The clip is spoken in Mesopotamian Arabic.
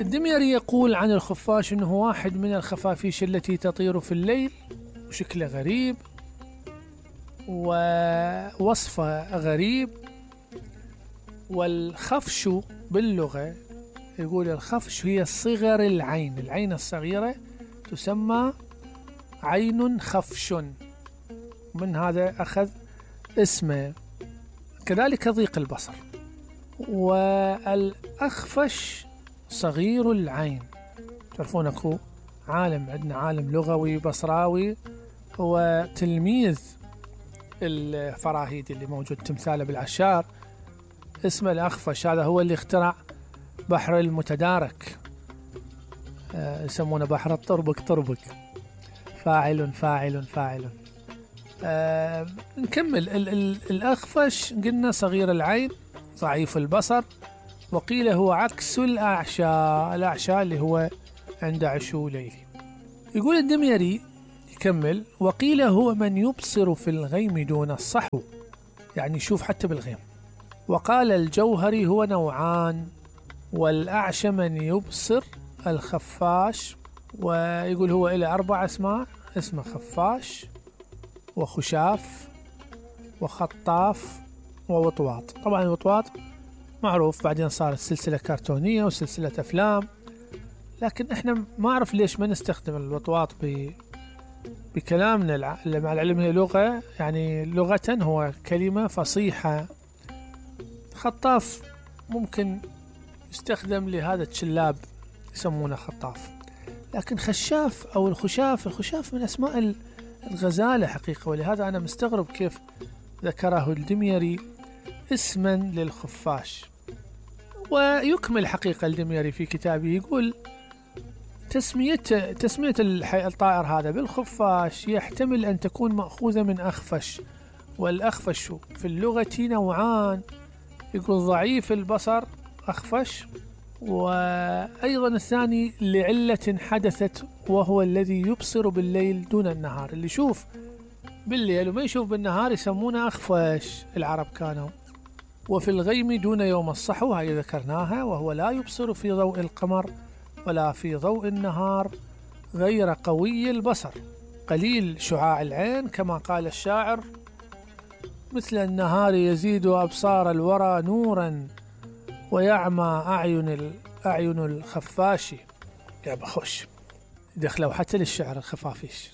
الدميري يقول عن الخفاش أنه واحد من الخفافيش التي تطير في الليل، وشكله غريب ووصفه غريب. والخفش باللغة يقول الخفش هي صغر العين، العين الصغيرة تسمى عين خفش، من هذا أخذ اسمه. كذلك ضيق البصر. والأخفش صغير العين. تعرفون أكو عالم، عندنا عالم لغوي بصراوي هو تلميذ الفراهيدي اللي موجود تمثاله بالعشار، اسمه الأخفش. هذا هو اللي اخترع بحر المتدارك، يسمونه بحر الطربق طربق. فاعل فاعل فاعل. نكمل. الأخفش قلنا صغير العين ضعيف البصر، وقيل هو عكس الأعشى، الأعشى اللي هو عنده عشو ليلي. يقول الدميري يكمل: وقيل هو من يبصر في الغيم دون الصحو، يعني يشوف حتى بالغيم. وقال الجوهري هو نوعان، والأعشى من يبصر الخفاش. ويقول هو إلى 4 أسماء: اسمه خفاش وخشاف وخطاف ووطواط. طبعا الوطواط معروف، بعدين صارت سلسلة كرتونية وسلسلة أفلام، لكن احنا ما أعرف ليش ما نستخدم الوطواط بكلامنا، مع العلم هي لغة، يعني لغة هو كلمة فصيحة. خطاف ممكن يستخدم لهذا الشلاب يسمونه خطاف، لكن خشاف أو الخشاف من أسماء الغزالة حقيقة، ولهذا أنا مستغرب كيف ذكره الدميري اسما للخفاش. ويكمل حقيقة الدميري في كتابه يقول: تسمية الطائر هذا بالخفاش يحتمل أن تكون مأخوذة من أخفش، والأخفش في اللغة نوعان. يقول ضعيف البصر أخفش، وأيضا الثاني لعلة حدثت وهو الذي يبصر بالليل دون النهار، اللي يشوف بالليل وما يشوف بالنهار يسمونه أخفش العرب كانوا. وفي الغيم دون يوم الصحو، هاي ذكرناها، وهو لا يبصر في ضوء القمر ولا في ضوء النهار، غير قوي البصر، قليل شعاع العين، كما قال الشاعر: مثل النهار يزيد أبصار الورى نورا، ويعمى أعين الخفاش. يا بخش دخلوا حتى للشعر الخفافيش.